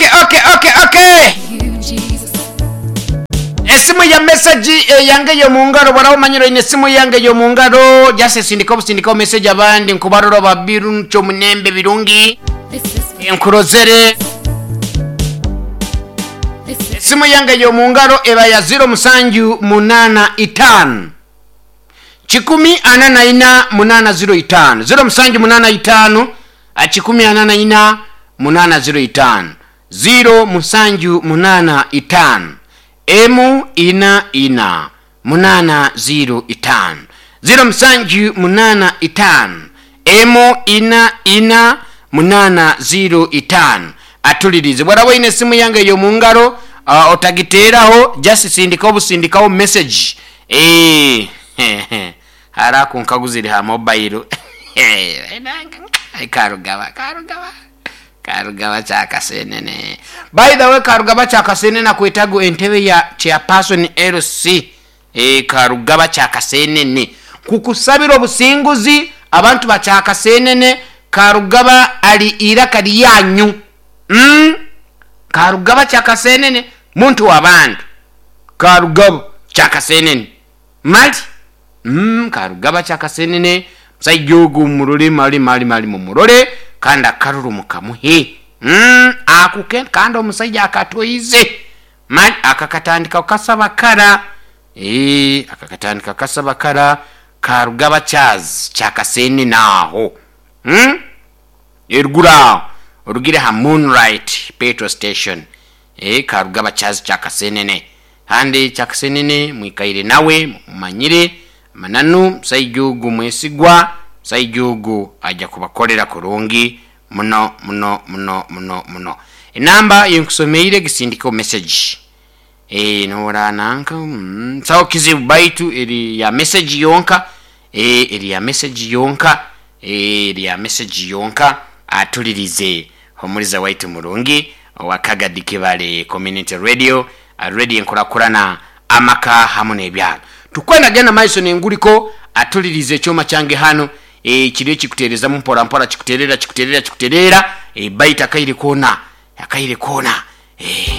Ok ok ok ok Esimu ya message eyange ey'omungaro bworaba omanyire oine esimu yange ey'omungaro just sindika obusindika message abandi nkubarora babiru kyomunembe birungi nkurozere esimu yange ey'omungaro eba ya ziro musanju munana itano kikumi ana na ina munana ziro itano ziro musanju munana itano kikumi ana na ina munana ziro itano ziro musanju munana itano emu ina ina munana ziro itano ziro musanju munana itano emu ina ina munana ziro itano atulirize bwaraba oine esimu yange ey'omungaro otagiteeraho just sindika obusindikaho message eh, hara kunkaguzire ha mobile Karugaba Karugaba Karugaba Kyakasenene by the way Karugaba Kyakasenene akwetaga entebe ya chairperson LC eh, Karugaba Kyakasenene kukusabira obusinguzi abantu ba Kyakasenene Karugaba ali iraka lyanyu Karugaba Kyakasenene muntu w'abantu Karugaba Kyakasenene mali Karugaba Kyakasenene musaija ogu murole mali mali mali mumurole kandi akaruru mukamuhe akuke kandi omusaija akatoize mali akakatandika kasaba kara akakatandika kasaba kara Karugaba Charles Kyakasenene aho eruguru aho orugire ha Moonlight petrol station Karugaba Charles Kyakasenene kandi Kyakasenene mwikaire nawe mumanyire mananu musaija ogu mwesigwa musaija ogu aja kubakolera kurungi muno muno muno muno muno enamba yenkusomeire gisindikeho message nora nanka sawa kizibu baitu eri ya message yonka eri ya message yonka eri ya message yonka atulirize omuliza waitu murungi owa Kagadi Kibale Community Radio radio enkurakurana amaka hamu n'ebyalo tukwenda genda maiso nenguliko atulirize ekyoma kyange hano kiriyo kikuterezamu mpora mpora kikuterera kikuterera kikuterera baitu akaire kona akaire kona.